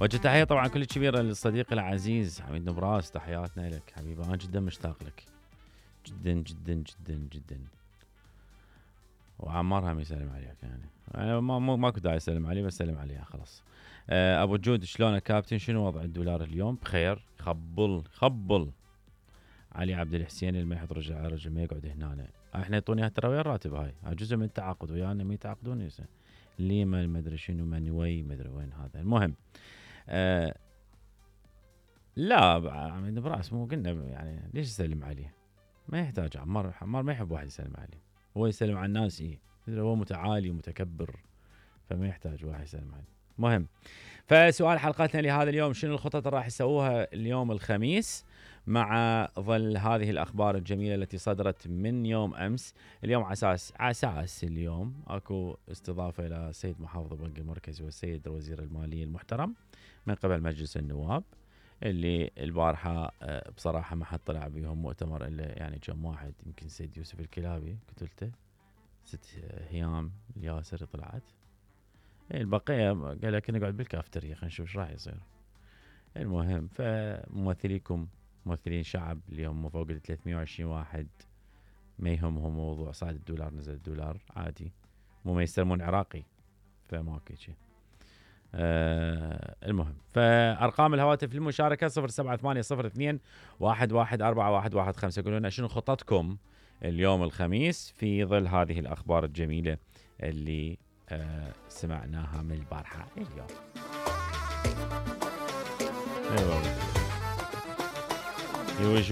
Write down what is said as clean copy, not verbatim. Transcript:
وجه تحية طبعا كل كبيرة للصديق العزيز حميد نبراس، تحياتنا لك حبيبي، أنا جدا مشتاق لك جدا جدا جدا جدا. وعمار هم يسلم عليك يعني، أنا ما كنت اسلم عليه بس سلم عليها خلاص. ابو جود شلونك كابتن؟ شنو وضع الدولار اليوم؟ بخير، خبل علي عبد الحسين اللي ما يحط رجل ما يقعد هنا. احنا يعطوني ترى ويا الراتب، هاي جزء من التعاقد ويانا، ما يتعاقدون ليه ما ادري شنو منوي ما ادري وين هذا. المهم لا عميد براس مو قلنا يعني ليش يسلم عليه؟ ما يحتاج. عمار ما يحب واحد يسلم عليه، هو يسلم على الناس هو متعالي ومتكبر فما يحتاج واحد يسلم عليه. مهم، فسؤال حلقتنا لهذا اليوم، شنو الخطط اللي راح يسووها اليوم الخميس مع ظل هذه الأخبار الجميلة التي صدرت من يوم أمس؟ اليوم عساس اليوم أكو استضافة إلى السيد محافظ البنك المركزي والسيد وزير المالية المحترم من قبل مجلس النواب، اللي البارحة بصراحة ما حد طلع بيهم مؤتمر إلا يعني كم واحد، يمكن سيد يوسف الكلابي قتلته، ست هيام الياسر طلعت، البقية قال لك نقعد بالكافتريا خلينا نشوف ايش راح يصير. المهم فممثليكم ممثلين شعب اليوم فوق 320 واحد ما يهمهم موضوع صعد الدولار نزل الدولار عادي، مو ما يستلمون عراقي فماكو شيء. المهم فأرقام الهواتف للمشاركة 0780211415. قولوا لنا شنو خططكم اليوم الخميس في ظل هذه الأخبار الجميلة اللي سمعناها من البارحة اليوم. يوش